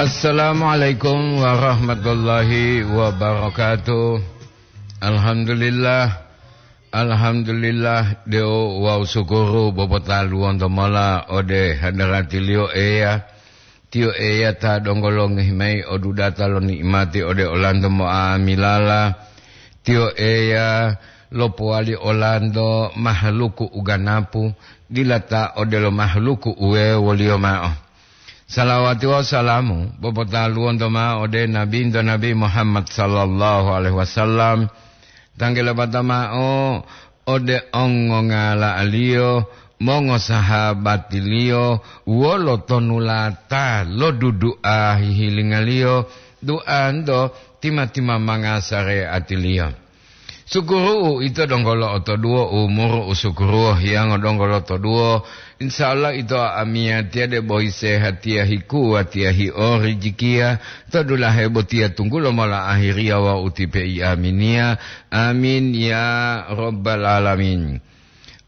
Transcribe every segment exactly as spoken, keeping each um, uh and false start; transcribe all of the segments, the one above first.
Assalamualaikum warahmatullahi wabarakatuh. Alhamdulillah. Alhamdulillah, deu wawu sukuru bobotaluwonto mola ode hadaratiliyo Eya. Tiyo Eya ta donggo longohi mayi odudata lo ni'imati ode olanto mo'amilala. Tiyo Eya lopowali olanto mahaluku uganapu, dila ta odelo mahaluku uwewoliyo ma'o. Salawati wawu salamu bopotaluwonto ma'o ode Nabinto Nabi Muhammad sallallahu alaihi wasallam, tanggelabata ma'o ode ongongala'aliyo, mongosahabatiliyo, wolo tonulata lo dudu'a hihilingaliyo, du'anto tima-timamanga sare'atiliyo. Sukuru'u ito donggo lo'otoduwo umuru u sukuruwo hiyango donggo lotoduwo. Insya Allah ito amiyatiya debo hisehatiya hikuwatiya hi'o rijikiya to dulahe botiya tunggulo mola ahiriya wawu utipe i aminiya. Amin ya rabbal alamin.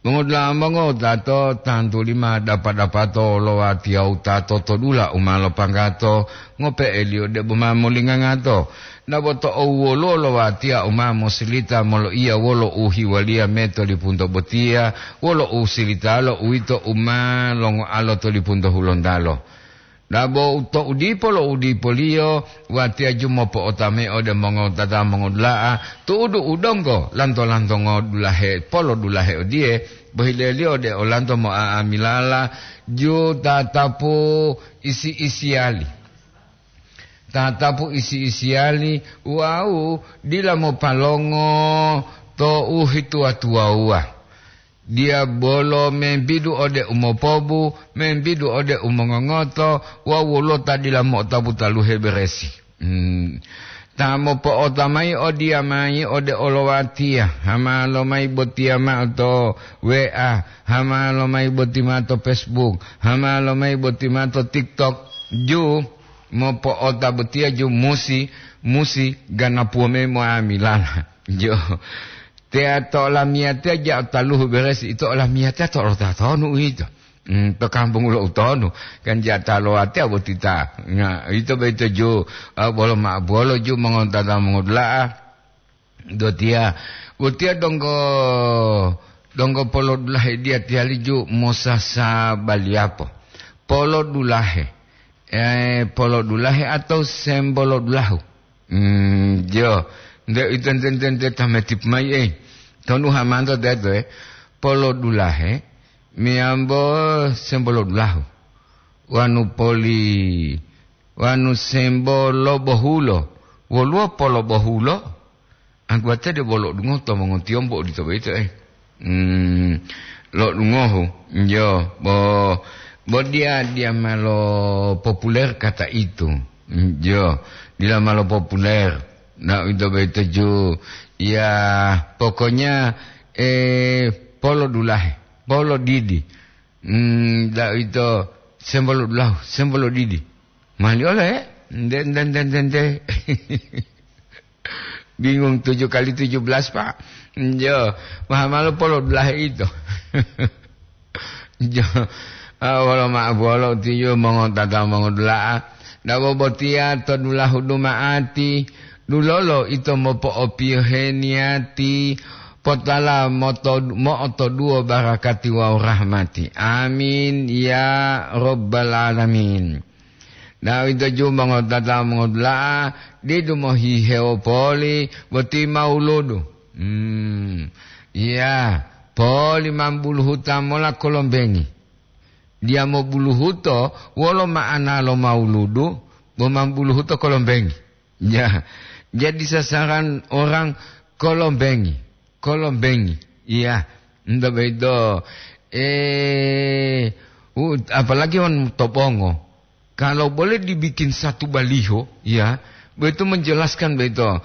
Mongodula'a mongotato, tantu lima dapa-dapato lo watiya wutato to dula u ma lopanggato, ngope'eliyo debo ma molingangato. Dabo to owuwoluwo lo watiya u ma mosilita moloiya wolo u hiwaliya me to lipunto botiya, wolo u silitalo uwito u ma longoalo to lipunto hulontalo. Dabo to u dipo lo u dipoliyo, watiya ju mopo'otamayi ode mongowutata mongodula'a, tu'udu u donggo lanto-lantongo dulahe, polodulahe odiye, bohileliyo ode olanto mo'a'amilala, ju tatapu isi-isiyali. Tatapu isi-isiyali wawu dila mopalongo to u hituwa-tuwawuwa. Diyabolo membidu ode umopobu, membidu ode umongongoto, wawu woluwo ta dila mo'otapu taluhe beresi. Hmm. Ta mopo'ota mayi odiyamayi ode olowatiya, hamalo mayi botiya ma'o to W A, hamalo mayi boti ma'o to Facebook, hamalo mayi boti ma'o to TikTok. Ju mopo'ota botiya ju musi, musi ganapuwo mayi mo'amilala. Jo. Teya to olamiyatiya ja taluhu beresi, ito olamiyatiya to olota tonu uwito. Hmm, to kampung lo utonu, kan ja ta lowatiya boti ta. Nah, ito boyito ju, ah, bolo ma-, bolo ju mongotata mongodula'a. Dotiya, botiya donggo, donggo polodulahe diya tiyali ju mosasabaliyapo. Polodulahe. Eh, polodulahe atau sembolodulahu. Hmm, jo. Nde ito nte, nte, nte, tametip mayi, eh. Tonu hamanto teto, eh. Polodulahe, miyambo sembolodulahu. Wanu poli, wanu sembolobohulo. Woluwo polobohulo? Angguwate debo lo'odungohu to mongotiyombu odito boyito, eh. Hmm, lo'odungohu, jo, bo, bo diya, diya ma lo populer kata itu. Jo, dila ma lo populer. Na uwito boyito ju, ya, pokoknya, eh, polodulahe, polodidi. Hmm, da uwito sembolodulahu, sembolodidi. Mali ole, eh? Nde, nde, nde, nde, nde. Bingung tujuh kali tujuh belas, Pak. Jo, maha malu polo dulahe ito. Jo, ah, wolo ma'o bolo tiyo mongotata mongodula'a. Dabo botiya to dulahu duma'ati, dulolo ito mopo'opiyohe niyati, potala moto-, mo'otoduwo barakati wawu rahmati. Amin, ya rabbal alamin. Na uwito ju mongotata mongodula'a, didu mohihewo poli boti mawuludu. Hmm, iya, poli mambuluhuta mola kolombengi. Dia mobuluhuto wolo ma'ana lo mawuludu, bo mambuluhuto kolombengi. Ya, jadi sasaran orang kolombengi. Kolombengi. Iya, nto boyito, eh, u-, apalagi wonu to bongo. Kalau boleh dibikin satu baliho, ya, boyito menjelaskan boyito.